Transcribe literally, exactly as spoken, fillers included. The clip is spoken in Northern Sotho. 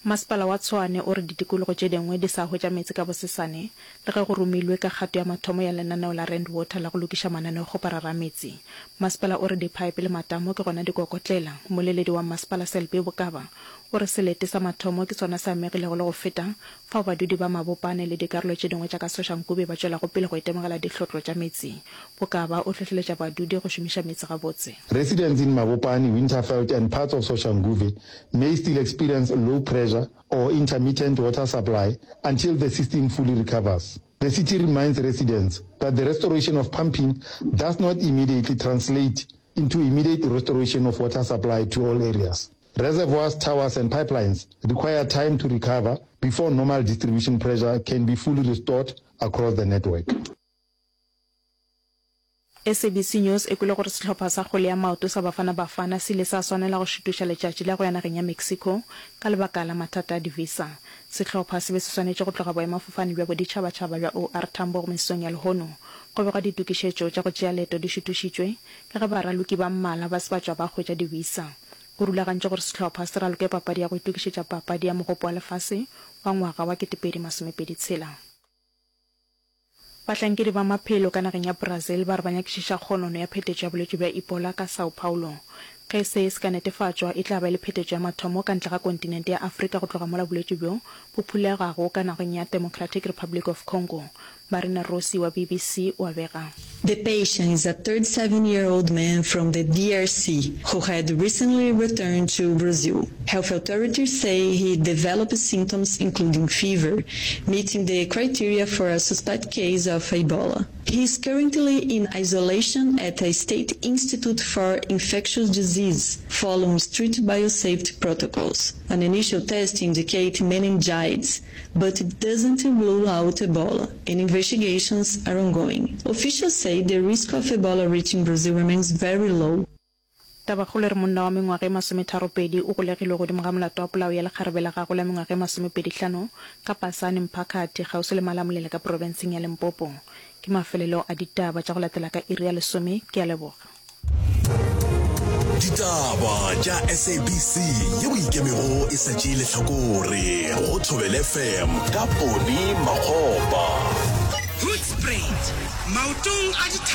Masepala wa Tshwane o re ditikologo tše dingwe di sa hwetša meetse ka bosesane le ge go romilwe ka kgato ya mathomo ya lenaneo la Rand Water la go lokiša mananeokgoparara a meetse. Masepala o re diphaepe le matamo ke gona di kokotlela. Mmoleledi wa masepala Selby Bokaba o re selete sa mathomo ke sona se amegilego le go feta fao badudi ba Mabopane le dikarolo tše dingwe tša ka Soshanguve ba tšwelago pele go itemogela dihlotlo tša meetse. Bokaba o hlohleletša badudi go šomiša meetse gabotse. Residents in Mabopane, Winterveld and parts of Soshanguve may still experience low pressure or intermittent water supply until the system fully recovers. The city reminds residents that the restoration of pumping does not immediately translate into immediate restoration of water supply to all areas. Reservoirs, towers and pipelines require time to recover before normal distribution pressure can be fully restored across the network. SABC News e kwele gore sehlopha sa kgwele ya maoto sa Bafana Bafana se ile sa swanela go šutuša letšatši la go ya nageng ya Mexico ka lebaka la mathata a di-visa. Sehlopha se be se swanetše go tloga boemafofane bja boditšhabatšhaba bja OR Tambo mesong ya lehono. Go begwa ditokišetšo tša go tšea leeto di šutušitšwe ka ge baraloki ba mmalwa ba se ba tšwa ba hwetša di-visa. Go rulagantšwe gore sehlopha se raloke papadi ya go itokišetša papadi ya Mogopo wa Lefase wa ngwaga wa ketepedi masomepedi tshela. Bahlankedi ba maphelo ka nageng ya Brazil ba re ba nyakišiša kgonono ya phetetšo ya bolwetši bja Ebola ka São Paulo. Ge se se ka netefatšwa, e tla ba e le phetetšo ya mathomo ka ntle ga kontinente ya Afrika go tloga mola bolwetši bjo bo phulegago ka nageng ya Democratic Republic of Congo. Marina Rossi wa BBC o a bega. The patient is a thirty-seven year old man from the D R C who had recently returned to Brazil. Health authorities say he developed symptoms including fever, meeting the criteria for a suspect case of Ebola. He is currently in isolation at a state institute for infectious disease following strict biosafety protocols. An initial test indicates meningitis, but it doesn't rule out Ebola, and investigations are ongoing. Officials say the risk of Ebola reaching Brazil remains very low. Tabakgolo e re monna wa mengwaga e masometharopedi o golegilwe godimo ga molato wa polao ya lekgarebe la gagwe la mengwaga e masomepedihlano ka Pasane Mphakathi kgauswi le Malamulele ka profenseng ya Limpopo. Ke mafelelo a ditaba tša go latela ka iri ya lesome. Ke a leboga. Ditaba tša S A B C ye o ikemego e sa tšee lehlakore go Thobela F M ka Poni Makgopa. Hoedspruit, maotong a.